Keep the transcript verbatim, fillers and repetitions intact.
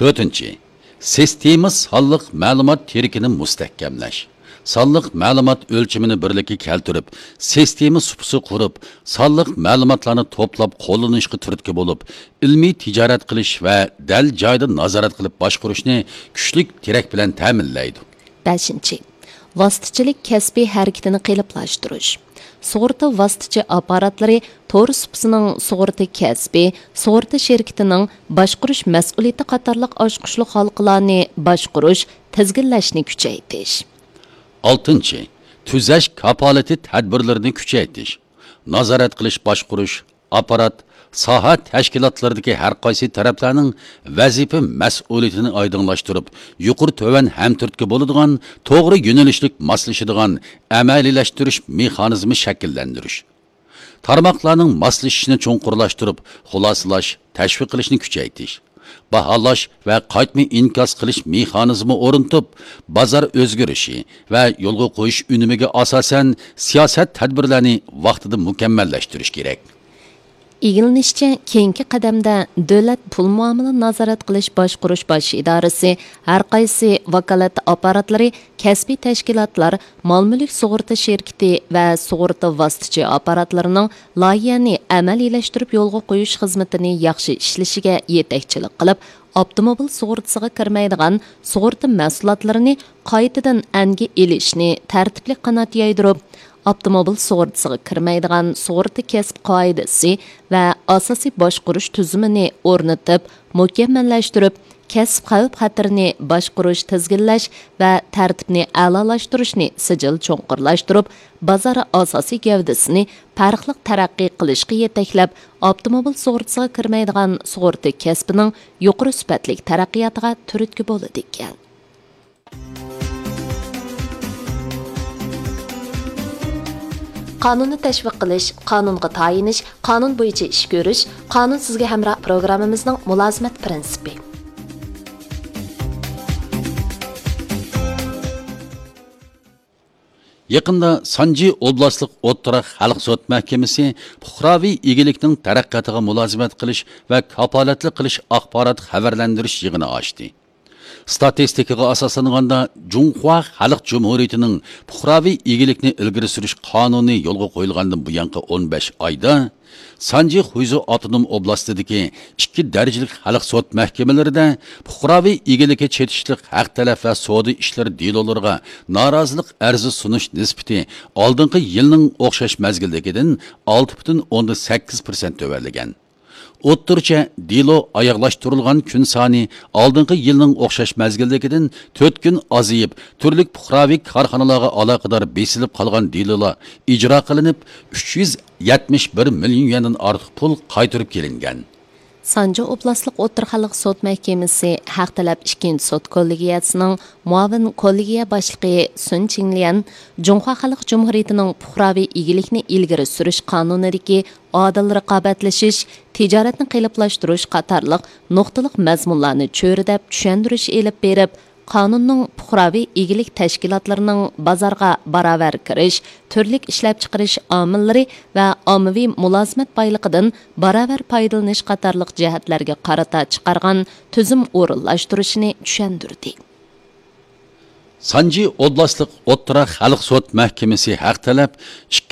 تۆتىنچى، سىستېما سانلىق مەلۇمات تىرىكىنى مۇستەھكەملەش. سانلىق مەلۇمات ئۆلچىمىنى بىرلىككە كەلتۈرۈپ، سىستېما سۇپىسى قۇرۇپ، سانلىق مەلۇماتلارنى توپلاپ قوللىنىشقا تۈرتكە بولۇپ، ئىلمىي تىجارەت قىلىش ۋە دەل جايىدا نازارەت قىلىپ باشقۇرۇشنى كۈچلۈك تىرەك بىلەن تەمىنلەيدۇ. بەشىنچى، ۋاسىتىچىلىك كەسپى ھەرىكىتىنى قېلىپلاشتۇرۇش. سۇغۇرتا ۋاسىتىچى ئاپپاراتلىرى تور سۇپىسىنىڭ سۇغۇرتا كەسپى، سۇغۇرتا شىركىتىنىڭ باشقۇرۇش مەسئۇلىيىتى قاتارلىق ئاچقۇچلۇق ھالقىلارنى باشقۇرۇش، تىزگىنلەشنى كۈچەيتىش. ئالتىنچى، تۈزەش كاپالىتى تەدبىرلىرىنى كۈچەيتىش. نازارەت قىلىش باشقۇرۇش، ئاپپارات، ساھە تەشكىلاتلىرىدىكى ھەر قايسى تەرەپلەرنىڭ ۋەزىپە مەسئۇلىيىتىنى ئايدىڭلاشتۇرۇپ، يۇقىرى تۆۋەن ھەمتۈرتكە بولىدىغان توغرا يۆنىلىشلىك ماسلىشىدىغان ئەمەلىيلەشتۈرۈش مېخانىزمى شەكىللەندۈرۈش. تارماقلارنىڭ ماسلىشىشىنى چوڭقۇرلاشتۇرۇپ، خۇلاسىلاش، تەشۋىق قىلىشنى كۈچەيتىش. باھالاش ۋە قايتما ئىنكاس قىلىش مېخانىزمى ئورنىتىپ، بازار ئۆزگىرىشى ۋە يولغا قويۇش ئۈنۈمىگە ئاساسەن سىياسەت تەدبىرلەرنى ۋاقتىدا مۇكەممەللەشتۈرۈش كېرەك. ئىگىلىنىشىچە، كېيىنكى قەدەمدە دۆلەت پۇل مۇئامىلە نازارەت قىلىش باشقۇرۇش باش ئىدارىسى، ھەر قايسى ۋاكالەتلىك ئاپپاراتلىرى، كەسپىي تەشكىلاتلار، مال مۈلۈك سۇغۇرتا شىركىتى ۋە سۇغۇرتا ۋاسىتىچى ئاپپاراتلىرىنىڭ لايىھەنى ئەمەلىيلەشتۈرۈپ يولغا قويۇش خىزمىتىنى ياخشى ئىشلىشىگە يېتەكچىلىك قىلىپ، ئاپتوموبىل سۇغۇرتىسىغا كىرمەيدىغان سۇغۇرتا مەھسۇلاتلىرىنى قايتىدىن ئەنگە ئېلىشنى تەرتىپلىك قانات يايدۇرۇپ، ئاپتوموبىل سۇغۇرتىسىغا كىرمەيدىغان سۇغۇرتا كەسپى قائىدىسى ۋە ئاساسىي باشقۇرۇش تۈزۈمىنى ئورنىتىپ، مۇكەممەللەشتۈرۈپ، كەسىپ خەۋپ-خەتىرىنى باشقۇرۇش، تىزگىنلەش ۋە تەرتىپنى ئەلالاشتۇرۇشنى سىجىل چوڭقۇرلاشتۇرۇپ، بازار ئاساسىي گەۋدىسىنى پەرقلىق تەرەققىي قىلىشقا يېتەكلەپ، ئاپتوموبىل سۇغۇرتىسىغا كىرمەيدىغان سۇغۇرتا كەسپىنىڭ يۇقىرى سۈپەتلىك تەرەققىياتىغا تۈرتكە بولىدىكەن. قانۇننى تەشۋىق قىلىش، قانۇنغا تايىنىش، قانۇن بويىچە ئىش كۆرۈش، قانۇن سىزگە ھەمراھ پروگراممىمىزنىڭ مۇلازىمەت پىرىنسىپى. يېقىندا سانجى ئوبلاستلىق ئوتتۇرا خەلق سوت مەھكىمىسى پۇقراۋى ئىگىلىكنىڭ تەرەققىياتىغا مۇلازىمەت قىلىش ۋە كاپالەتلىك قىلىش ئاخبارات خەۋەرلەندۈرۈش يىغىنى ئاچتى. ستاتىستىكىغا ئاساسلانغاندا، جۇڭخۇا خەلق جۇمھۇرىيىتىنىڭ پۇقراۋى ئىگىلىكنى ئىلگىرى سۈرۈش قانۇنى يولغا قويۇلغاندىن بۇيانقى ئون بەش ئايدا، سانجى خۇيزۇ ئاپتونوم ئوبلاستىدىكى ئىككى دەرىجىلىك خەلق سوت مەھكىمىلىرىدە پۇقراۋى ئىگىلىكى چېتىشلىق ھەق تەلەپ ۋە سودا ئىشلىرى دېلولىرىغا نارازىلىق ئەرزى سۇنۇش نىسبىتى ئالدىنقى يىلنىڭ ئوخشاش مەزگىلدىكىدىن ئالتە پۈتۈن ئوندىن سەككىز پىرسەنت تۆۋەنلىگەن. ئوتتۇرىچە دېلو ئاياغلاشتۇرۇلغان كۈن سانى ئالدىنقى يىلنىڭ ئوخشاش مەزگىلدىكىدىن تۆت كۈن ئازىيىپ، تۈرلۈك پۇقراۋى كارخانىلارغا ئالاقىدار بېسىلىپ قالغان دېلولار ئىجرا قىلىنىپ، ئۈچ يۈز يەتمىش بىر مىليون يۈەندىن ئارتۇق پۇل قايتۇرۇپ كېلىنگەن. سانجى ئوبلاستلىق ئوتتۇرا خەلق سوت مەھكىمىسى ھەق تەلەپ ئىككىنچى سوت كوللېگىيەسىنىڭ مۇئاۋىن كوللېگىيە باشلىقى سۈن چىڭليەن جۇڭخۇا خەلق جۇمھۇرىيىتىنىڭ پۇقراۋى ئىگىلىكنى ئىلگىرى سۈرۈش قانۇنىدىكى ئادىل رىقابەتلىشىش، تىجارەتنى قېلىپلاشتۇرۇش قاتارلىق نۇقتىلىق مەزمۇنلارنى چۆرىدەپ چۈشەندۈرۈش ئېلىپ بېرىپ، قانۇننىڭ پۇقراۋى ئىگىلىك تەشكىلاتلىرىنىڭ بازارغا باراۋەر كىرىش، تۈرلۈك ئىشلەپچىقىرىش ئامىللىرى ۋە ئاممىۋى مۇلازىمەت بايلىقىدىن باراۋەر پايدىلىنىش قاتارلىق جەھەتلەرگە قارىتا چىقارغان تۈزۈم ئورۇنلاشتۇرۇشىنى چۈشەندۈردى. سانجى ئوبلاستلىق ئوتتۇرا خەلق سوت مەھكىمىسى ھەق تەلەپ ئىككى